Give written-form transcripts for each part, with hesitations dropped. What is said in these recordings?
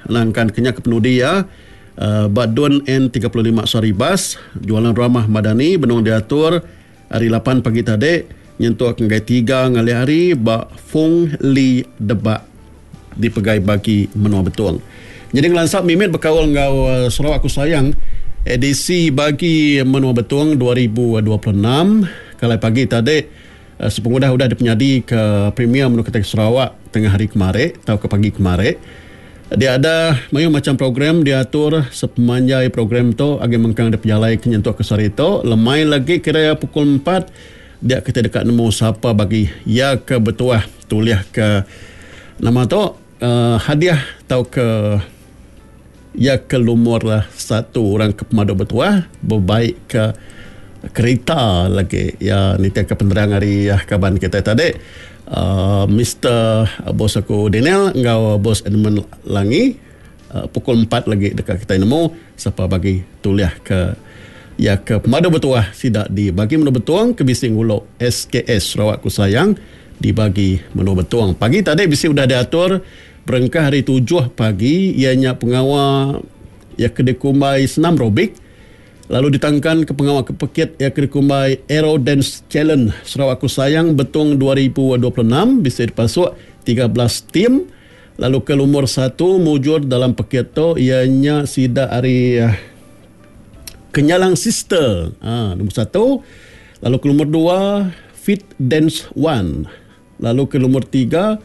nangkan ke nya ke penudi iya ba Dun N 35 Saribas, Jualan Ramah Madani benung diatur ari lapan pagi tadi nyentuk ngagai tiga ngalih hari ba Fung Li Debak dipegai bagi menua Betong. Nyadi ngelansa mimit bekaul enggau Sarawak Aku Sayang edisi bagi menua Betong 2026 kalai pagi tadi Sepengudah udah dipenyadika Premier Menua Kitai Sarawak tengah hari kemari tauka pagi kemari, dia ada mayuh macham program diatur sepemanjai program tu agi mengkang dipejalaika nyentuk ke sehari tu. Lemai lagi kira iya pukul empat dia kitai deka nemu sapa bagi iya ke betuah tulihka nama tu hadiah tauka iya ke lumur satu orang ke pemadu betuah bebaikka kerita lagi iya nitihka penerang ari kaban kitai tadi uhh Mister bos aku Daniel enggau bos Edmund Langi pukul empat lagi deka kitai nemu sapa bagi tulihka iya ke pemadu betuah sida di bagi menua Betong ke bisi ngulu SKS Sarawak Ku Sayang di bagi menua Betong. Pagi tadi bisi udah diatur Berengkah hari tujuh pagi iya nya pengawa iya ke dikumbai senam robik lalu ditangkan ke pengawa ke pekit iya ke dikumbai Aero Dance Challenge Sarawak Aku Sayang Betong 2026 bisi dipasuk 13 tim lalu ke lumur satu mujur dalam pekit tu iya nya sida ari Kenyalang Sister ha lumur satu lalu ke lumur dua Fit Dance One. Lalu ke lumur tiga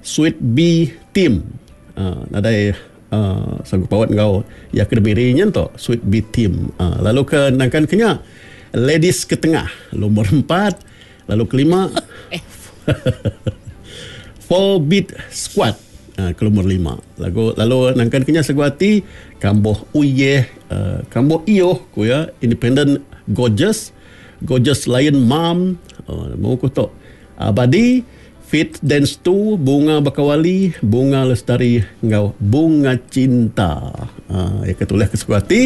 Sweet Bee Team. Uh, nadai uh, sanggup paut enggau ya ke diberi nya tu Sweet Bee Team. Uh, lalu ke nangkan ke nya Ladies ke tengah lumur empat lalu kelima Four Beat Squad uh, ke lumur lima. Lagu lalu nangkan ke nya segu ati Kamboh Uyeh uh, Kamboh Ioh ku ya Independent Gorgeous Gorgeous Lion Mom uh, mau ku tu Abadi, Fit Dance Tu, Bunga Bakawali, Bunga Lestari enggau Bunga Cinta. Uh, iya ke tulis ke suku ati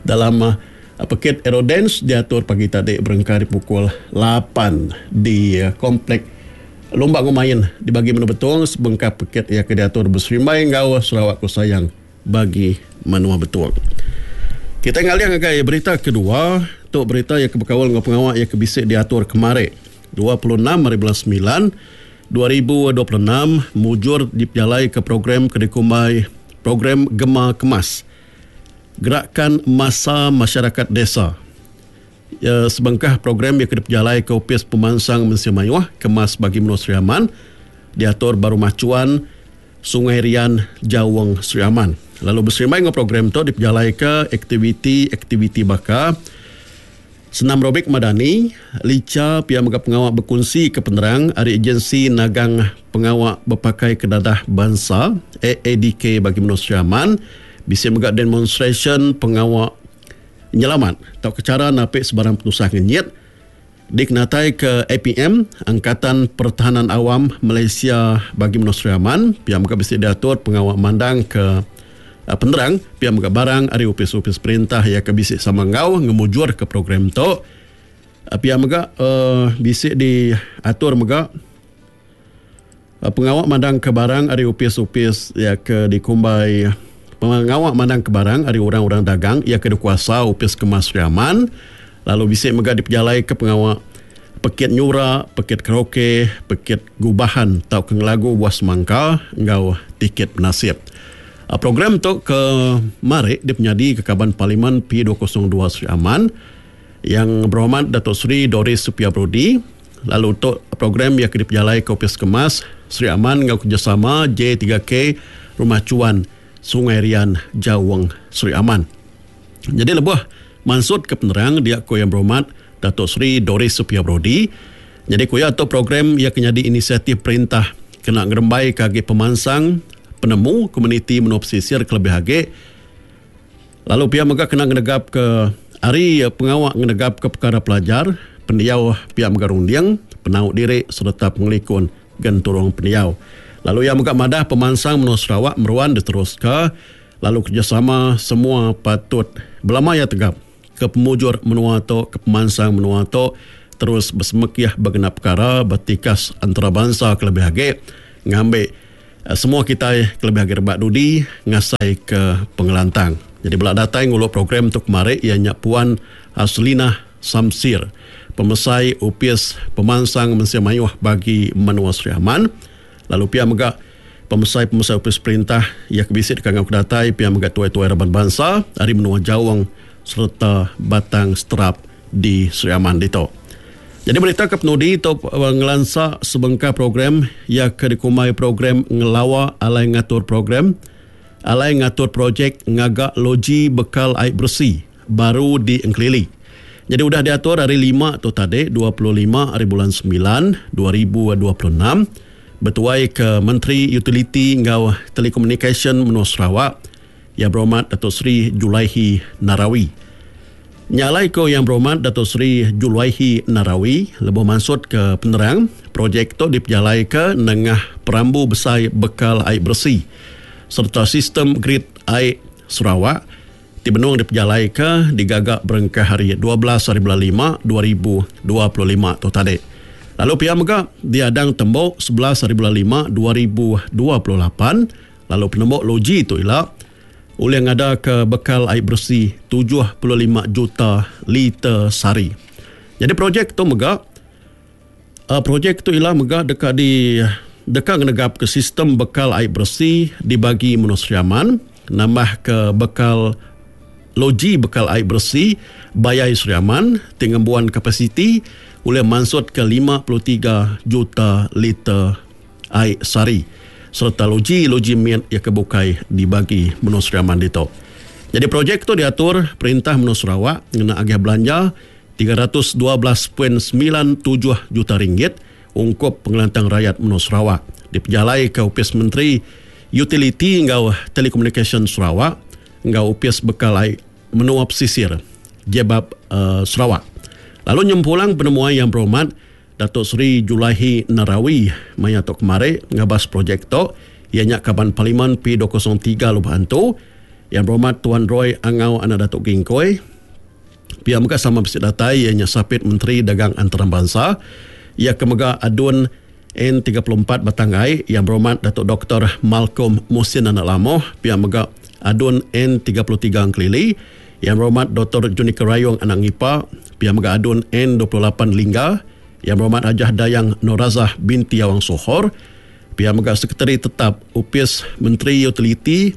dalam uh, pekit Aerodance diatur pagi tadi berengkah di pukul 8 di uh, Komplek Lumba enggau Main di bagi Menua Betong sebengkah pekit iya ke diatur beserimbai enggau Sarawak Ku Sayang bagi Menua Betong. Kitai ngalih ngagai berita kedua, tu berita iya ke bekaul enggau pengawa iya ke bisi diatur kemari. 26 ari bulan semilan, 2026 mujur dipejalaika program ke dikumbai Program Gema Kemas, Gerakan Massa Masyarakat Desa. Iya sebengkah program iya ke dipejalaika Opis Pemansang Mensia Mayuh, Kemas Bagi Menua Sri Aman, diatur ba Rumah Chuan, Sungai Rian, Jawong, Sri Aman. Lalu beserimbai enggau program tu dipejalaika aktiviti-aktiviti baka Senam Robik Madani, licha pia mega pengawa bekunsika penerang ari Ejensi Nagang Pengawa Bepakai Ke Dadah Bansa, AADK, bagi menua Sri Aman, bisi mega demonstrasyen pengawa nyelamat tauka chara napi sebarang penusah ngenyit dikenataika APM, Angkatan Pertahanan Awam Malaysia, bagi menua Sri Aman, pia mega bisi diatur pengawa mandangka Penerang, pia mega barang ari opis-opis perintah iya ke bisi sama enggau ngemujurka program tu. Pia mega bisi diatur mega pengawa mandangka barang ari opis-opis iya ke dikumbai pengawa mandangka barang ari orang-orang dagang iya ke dikuasa Opis Kemas Sri Aman lalu bisi mega dipejalaika pengawa pekit nyura, pekit karaoke, pekit gubahan tauka ngelagu buah semangka enggau tiket benasip. Program tu ke mari dipenyadika Kaban Parlimen P202 Sri Aman Yang Berhormat Dato Sri Doris Supia Brodi lalu tu program iya ke dipejalaika Opis Kemas Sri Aman enggau kerejasama J3K Rumah Chuan Sungai Rian Jawong Sri Aman. Nyadi lebuh mansutka penerang dia ku Yang Berhormat Dato Sri Doris Supia Brodi nyadi ku iya tu program iya ke nyadi inisiatif perintah kena ngerembaika agi pemansang penemu komuniti menua pesisir kelebih agi lalu pia mega kena ngenegapka ari pengawa ngenegapka pekara pelajar pendiau pia mega runding penau diri sereta pengelikun genturung pendiau. Lalu iya mega madah pemansang menua Sarawak meruan diteruska lalu kerejasama semua patut belama iya tegap. Ke pemujur menua tu, ke pemansang menua tu terus besemekih ba genap pekara ba tikas antarabansa kelebih agi ngambi. Semua kitai kelebih agi rebak dudi ngasai ke pengelantang. Jadi bela datai ngulu program tu kemari iya nya Puan Haslinah Samsir, Pemesai Opis Pemansang Mensia Mayuh Bagi Menua Sri Aman lalu pia mega pemesai-pemesai opis perintah iya ke bisi deka enggau ke datai pia mega tuai-tuai raban bansa ari menua Jaung sereta Batang Seterap di Sri Aman ditu. Nyadi berita ke penudi tu ngelansa sebengkah program iya ke dikumbai program ngelawa alai ngatur program alai ngatur projek ngaga loji bekal ai beresi baru di Engkelili. Nyadi udah diatur hari lima tu tadi 25 hari bulan semilan 2026 betuai ke Menteri Utiliti enggau Telekomunikasyen Menua Sarawak Yang Berhormat Dato Sri Julaihi Narawi. Nya alai ku Yang Berhormat Dato Sri Julaihi Narawi lebuh mansutka penerang, projek tu dipejalaika nengah perambu besai bekal ai beresi sereta sistem grid ai Sarawak ti benung dipejalaika digaga berengkah hari 12 hari bulan lima 2025 tu tadi. Lalu pia mega diadang tembu 11 hari bulan lima 2028 lalu penembu loji tu ila ulih ngadaka bekal ai beresi 75 juta liter sehari. Nyadi projek tu mega projek tu ila mega deka di deka ngenegapka sistem bekal ai beresi di bagi menua Sri Aman nambahka bekal loji bekal ai beresi Bayai Sri Aman ti ngembuan kapasiti ulih mansutka 53 juta liter ai sehari sereta loji-loji mit iya ke bukai dibagi menua Sri Aman ditu. Nyadi projek tu diatur Perintah Menua Sarawak ngena agih belanja 312.97 juta ringgit ungkup pengelantang rayat menua Sarawak dipejalaika Opis Menteri Utiliti enggau Telekomunikasyen Sarawak enggau Opis Bekal Ai Menua Pesisir, JBALB, Sarawak. Lalu nyempulang penemuai Yang Berhormat Dato Sri Julaihi Narawi maya tu kemari ngabas projek tu iya nya Kaban Parlimen P203 Lubok Antu Yang Berhormat Tuan Roy Angau anak Datuk Gingkoi. Pia mega sama bisi datai iya nya Sapit Menteri Dagang Antarabangsa iya ke mega ADUN N34 Batang Ai Yang Berhormat Datuk Doktor Malcolm Musin anak Lamoh. Pia mega ADUN N33 Engkelili Yang Berhormat Doktor Junica Rayong anak Ngipa, pia mega ADUN N28 Lingga, Yang Berhormat Hajah Dayang Norazah binti Awang Sohor, pia mega Sekretari Tetap Opis Menteri Utiliti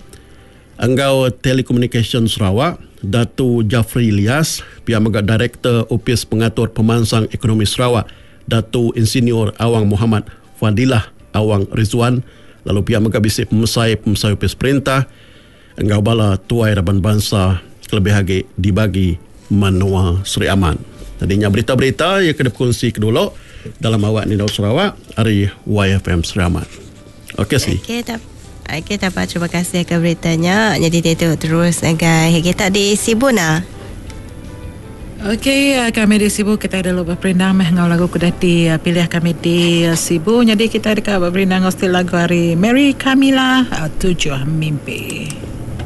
enggau Telekomunikasyen Sarawak, Datu Jafri Lias, pia mega Direktor Opis Pengatur Pemansang Ekonomi Sarawak, Datu Insinyur Awang Mohamad Fadilah Awang Rizwan, lalu pia mega bisi pemesai-pemesai opis perintah, enggau bala tuai raban bansa kelebih agi dibagi menua Sri Aman. Jadi nya berita-berita iya ke dipekongsi ke dulu dalam awak Nindau Sarawak ari YFM Sri Aman. Okey si. Okey tak Okey tak apa terima kasih ke berita nya. Jadi dia tu terus ngagai kita di Sibu nah. Okey kami di Sibu kitai dulu beperindang meh enggau lagu ke udah ti pilih kami di Sibu. Nyadi kitai deka beperindang enggau siti lagu ari Mary Camilla Tujuh Mimpi.